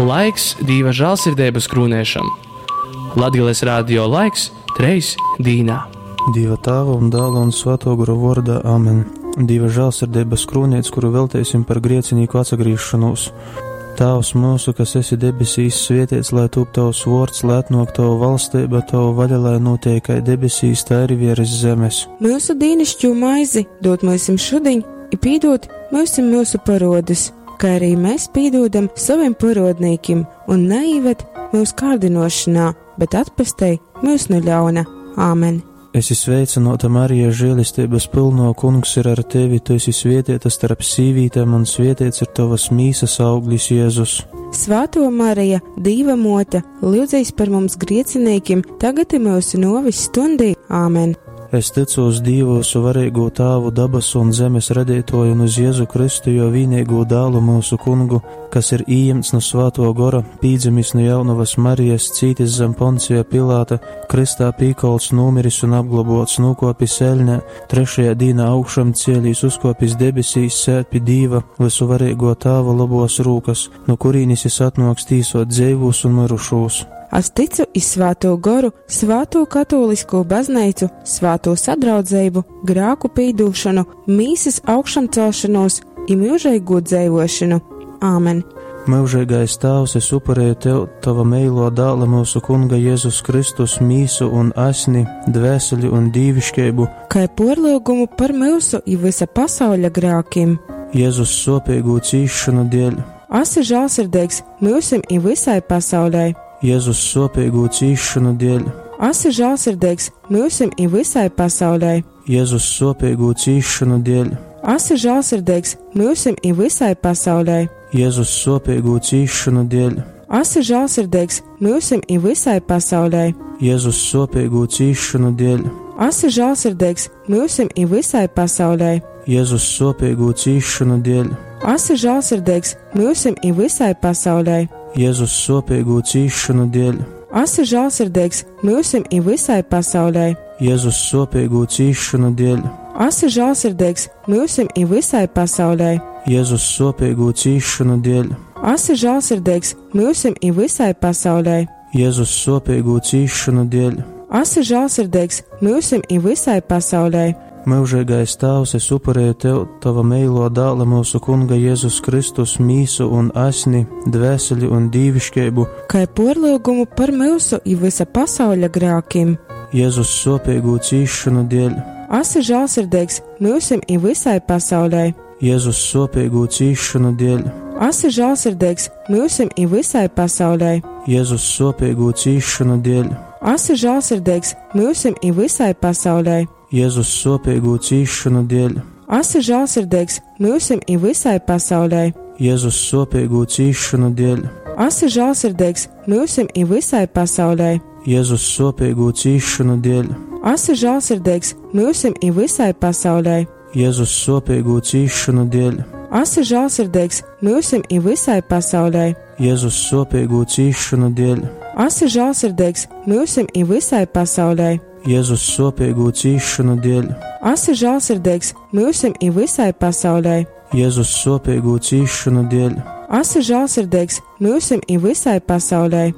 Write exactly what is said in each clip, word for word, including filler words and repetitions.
Laiks Dīva žālsirdeibas krūnēšam. Latgales radio laiks treis dīnā. Dīva Tāva un Dāla un Svēto Gora vārdā Āmen. Dīva žēlsirdības krūnīts, kuru veltēsim par griecinīku atsagriešanos. Tēvs mūsu, kas esi debesīs, svētīts lai tūp tavs vārds, lai atnāk tava valstība, tava vaļa, lai notiek kā debesīs, tā arī virs zemes. Mūsu dīnišķo maizi dod mums šodien, i pīdot mūsim mūsu parodes, kā arī mēs pīdodam saviem parodnīkim, un neīved mūsu kārdinošanā, bet atpestei mūs no ļauna. Āmen! Esi sveicināta, Marija, žēlestības pilno, kungs ir ar tevi, tu esi svētīta starp sīvītēm, un svētīts ir tavas mīsas auglis, Jēzus. Svētā Marija, Dīva mote, lūdzīs par mums griecinīkim, tagad ir mūsu novis stundī. Āmen! Es ticu uz Dievu, suvarīgo Tāvu, dabasu un zemes radītoju un uz Jēzu Kristu, jo vienīgo dālu mūsu kungu, kas ir ījemts no Svēto Gora, pīdzemis no jaunavas Marijas, cītis zem Poncija Pilāta, kristā pīkolts, numiris un apglobots, nokopis eļnē, trešajā dīnā augšam cielīs, uzkopis debesīs, sēd pie Dīva, visuvarīgo Tāva labos rūkas, no kurīnis jis atnoks tīsot dzeivūs un mirušūs. Es ticu iz Svēto Goru, Svēto katolisko baznīcu, Svēto sadraudzību, grāku pīdūšanu, mīsas augšamcelšanos i mūžīgo dzēvošanu. Āmen! Mūžīgais Tēvs, es upurēju tev tava meilo dāla mūsu Kunga Jēzus Kristus mīsu un asni, dvēseli un dīvišķību, Kā porlūgumu par mūsu i visa pasauļa grākim. Jēzus sopīgo cīšanu dēļ, Esi žēlsirdīgs mūsim i visai pasaulē. Jēzus sopīgo cīšanu dēļ, Esi žēlsirdīgs mūsim i visai pasaulē. Jēzus sopīgo cīšanu dēļ, Esi žēlsirdīgs mūsim i visai pasaulē. Jēzus sopīgo cīšanu dēļ, Esi žēlsirdīgs mūsim i visai pasaulē. Jēzus sopīgo cīšanu dēļ, Esi žēlsirdīgs mūsim i visai pasaulē. Jēzus sopīgo cīšanu dēļ, Esi žēlsirdīgs mūsim i visai pasaulē. Jēzus sopīgo cīšanu dēļ, Esi žēlsirdīgs mūsim i visai pasaulē. Jēzus sopīgo cīšanu dēļ, Esi žēlsirdīgs mūsim i visai pasaulē. Jēzus sopīgo cīšanu dēļ, Esi žēlsirdīgs mūsim i visai pasaulē. Jēzus sopīgo cīšanu dēļ, Esi žēlsirdīgs mūsim i visai pasaulē. Mūžīgais Tēvs, es upurēju tev tava meilo dāla mūsu Kunga Jēzus Kristus mīsu un asni, dvēseli un dīvišķību, Kā porlūgumu par mūsu i visa pasauļa grākim. Jēzus sopīgo cīšanu dēļ, Esi žēlsirdīgs mūsim i visai pasaulē. Jēzus sopīgo cīšanu dēļ, Esi žēlsirdīgs mūsim i visai pasaulē. Jēzus sopīgo cīšanu dēļ, Esi žēlsirdīgs mūsim i visai pasaulē. Jēzus sopīgo cīšanu dēļ, Esi žēlsirdīgs mūsim i visai pasaulē. Jēzus sopīgo cīšanu dēļ, Esi žēlsirdīgs mūsim i visai pasaulē. Jēzus sopīgo cīšanu dēļ, Esi žēlsirdīgs mūsim i visai pasaulē. Jēzus sopīgo cīšanu dēļ, Esi žēlsirdīgs mūsim i visai pasaulē. Jēzus sopīgo cīšanu dēļ, Esi žēlsirdīgs mūsim i visai pasaulē. Jēzus sopīgo cīšanu dēļ, Esi žēlsirdīgs mūsim i visai pasaulē. Jēzus sopīgo cīšanu dēļ, Esi žēlsirdīgs mūsim i visai pasaulē.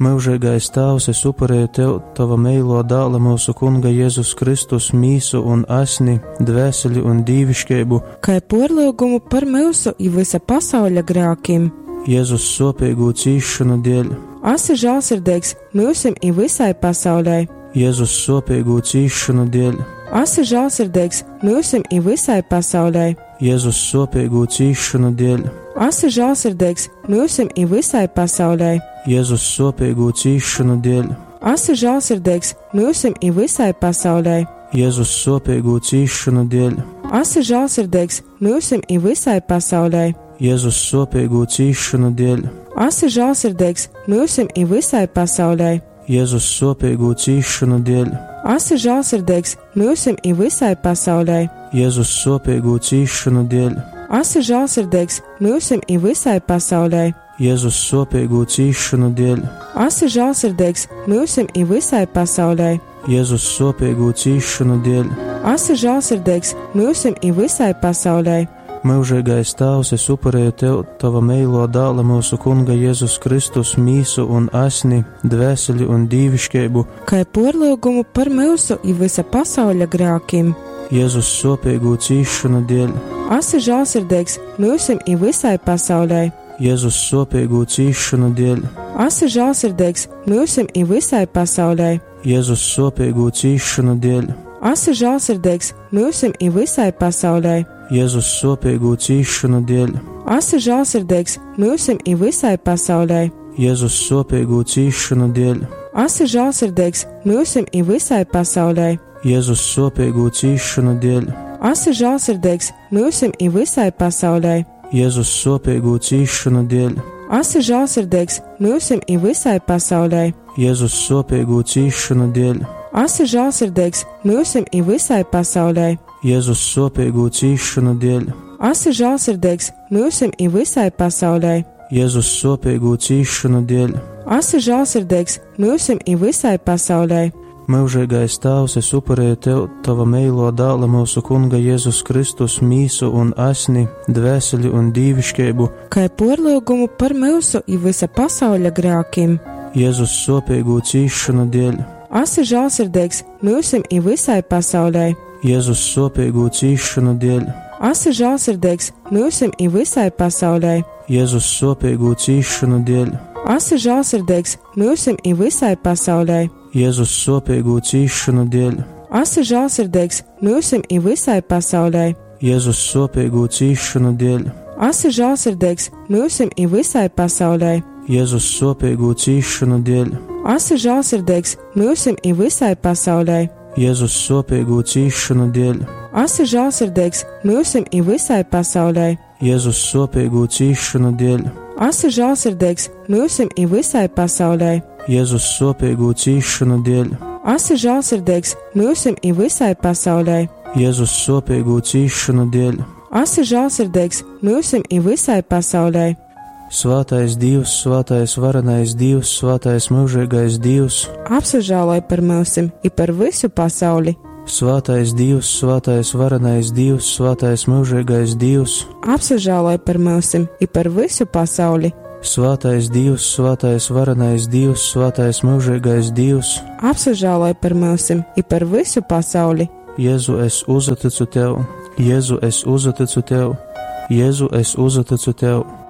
Mūžīgais Tēvs, es upurēju tev tava meilo dāla mūsu Kunga Jēzus Kristus mīsu un asni, dvēseli un dīvišķību, Kā porlūgumu par mūsu i visa pasauļa grākim. Jēzus sopīgo cīšanu dēļ, Esi žēlsirdīgs mūsim i visai pasaulē. Jēzus sopīgo cīšanu dēļ, Esi žēlsirdīgs mūsim i visai pasaulē. Jēzus sopīgo cīšanu dēļ, Esi žēlsirdīgs mūsim i visai pasaulē. Jēzus sopīgo cīšanu dēļ, Esi žēlsirdīgs mūsim i visai pasaulē. Jēzus sopīgo cīšanu dēļ, Esi žēlsirdīgs mūsim i visai pasaulē. Jēzus sopīgo cīšanu dēļ, Esi žēlsirdīgs mūsim i visai pasaulē. Jēzus sopīgo cīšanu dēļ, Esi žēlsirdīgs mūsim i visai pasaulē. Jēzus sopīgo cīšanu dēļ, Esi žēlsirdīgs mūsim i visai pasaulē. Jēzus sopīgo cīšanu dēļ, Esi žēlsirdīgs mūsim i visai pasaulē. Jēzus sopīgo cīšanu dēļ, Esi žēlsirdīgs mūsim i visai pasaulē. Myužīgais Tāvs, es upurēju Tev Tava meilo dāla mūsu Kunga Jēzus Kristus mīsu un asni, dvēseli un dīviškeibu, Kai porlyugumu par myusu i vysa pasauļa grākim. Jēzus sopīgū cīšanu dēļ, Asi žālsirdīgs myusim i vysai pasaulei. Jēzus sopīgū cīšanu dēļ, Asi žālsirdīgs myusim i vysai pasaulei. Jēzus sopīgū cīšanu dēļ, Asi žālsirdīgs myusim i vysai pasaulei. Jēzus sopīgū cīšanu dēļ, Asi žālsirdīgs myusim i vysai pasaulei. Jēzus sopīgū cīšanu dēļ, Asi žālsirdīgs myusim i vysai pasaulei. Jēzus sopīgū cīšanu dēļ, Asi žālsirdīgs myusim i vysai pasaulei. Jēzus sopīgū cīšanu dēļ, Asi žālsirdīgs myusim i vysai pasaulei. Jēzus sopīgū cīšanu dēļ, Asi žālsirdīgs myusim i vysai pasaulei. Jēzus sopīgū cīšanu dēļ, Asi žālsirdīgs myusim i vysai pasaulei. Jēzus sopīgū cīšanu dēļ, Asi žālsirdīgs myusim i vysai pasaulei. Myužīgais Tāvs, es upurēju Tev Tava meilo dāla mūsu Kunga Jēzus Kristus mīsu un asni, dvēseli un dīviškeibu, Kai porlyugumu par myusu i vysa pasauļa grākim. Jēzus sopīgū cīšanu dēļ, Asi žālsirdīgs myusim i vysai pasaulei. Jēzus sopīgū cīšanu dēļ, Asi žālsirdīgs myusim i vysai pasaulei. Jēzus sopīgū cīšanu dēļ, Asi žālsirdīgs myusim i vysai pasaulei. Jēzus sopīgū cīšanu dēļ, Asi žālsirdīgs myusim i vysai pasaulei. Jēzus sopīgū cīšanu dēļ, Asi žālsirdīgs myusim i vysai pasaulei. Jēzus sopīgū cīšanu dēļ, Asi žālsirdīgs myusim i vysai pasaulei. Jēzus sopīgū cīšanu dēļ, Asi žālsirdīgs myusim i vysai pasaulei. Jēzus sopīgū cīšanu dēļ, Asi žālsirdīgs myusim i vysai pasaulei. Jēzus sopīgū cīšanu dēļ, Asi žālsirdīgs myusim i vysai pasaulei. Jēzus sopīgū cīšanu dēļ, Asi žālsirdīgs myusim i vysai pasaulei. Svētais Dievs, svētais varenais Dievs, svētais mūžīgais Dievs, Apsažāloj par myusim i par visu pasauli. Svētais Dievs, svētais varenais Dievs, svētais mūžīgais Dievs, Apsažāloj par myusim i par visu pasauli. Svētais Dievs, svētais varenais Dievs, svētais mūžīgais Dievs, Apsažāloj par myusim i par visu pasauli. Jēzu, es uzticu tev, Jēzu, es uzticu tev, Jēzu, es uzticu tev.